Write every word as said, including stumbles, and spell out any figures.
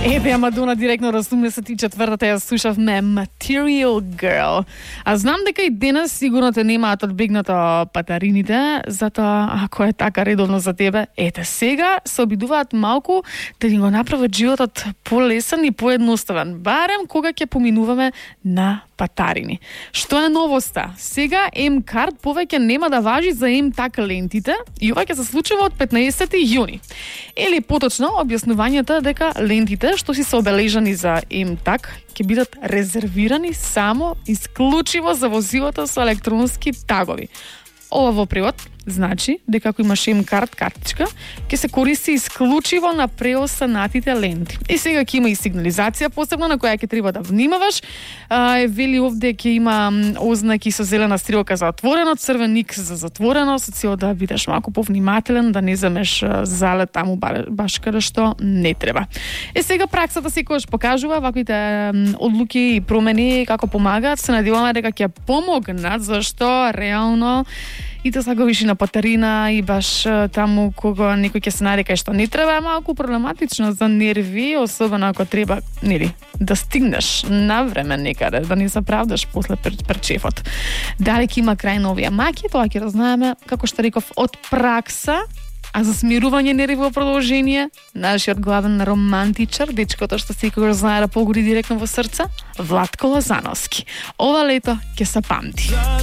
Еве Мадона директно од осумдесет и четвртата ја слушавме Material Girl. А знам дека и денес сигурно те немаат одбегнато патарините, затоа ако е така редовно за тебе, ете сега се обидуваат малку да ни го направат животот полесен и поедноставен, барем кога ќе поминуваме на патарини. Што е новоста? Сега М-карт повеќе нема да важи за М-так лентите и ова ќе се случува од петнаесети јуни. Или поточно објаснувањето дека лентите што си се обележани за М-так ќе бидат резервирани само исклучиво за возилата со електронски тагови. Ова во превод значи дека ако имаш М-карт картичка, ќе се користи исклучиво на преосанатите ленти. И сега ќе има и сигнализација посебно на која ќе треба да внимаваш. Е, вели овде ќе има ознаки со зелена стрелка за отворено, црвен икс за затворено, со цел да бидеш малку повнимателен, да не земеш залет таму баш каде што не треба. Е сега праксата секогаш покажува ваквите одлуки и промени како помагаат. Се надеваме дека ќе помогнат, зашто реално и да заговиш на патарина и баш таму кога некој ќе се нарека што не треба, е малку проблематично за нерви, особено ако треба, нели, да стигнеш на време некаде, да не заправдаш после пред шефот. Дали ќе има крај на овие маки, тоа ќе разнаеме, како што реков, од пракса. А за смирување нерви во продолжение, нашиот главен романтичар, дечкото што секогаш знае да погоди директно во срце, Владко Лозановски. Ова лето ќе се памти.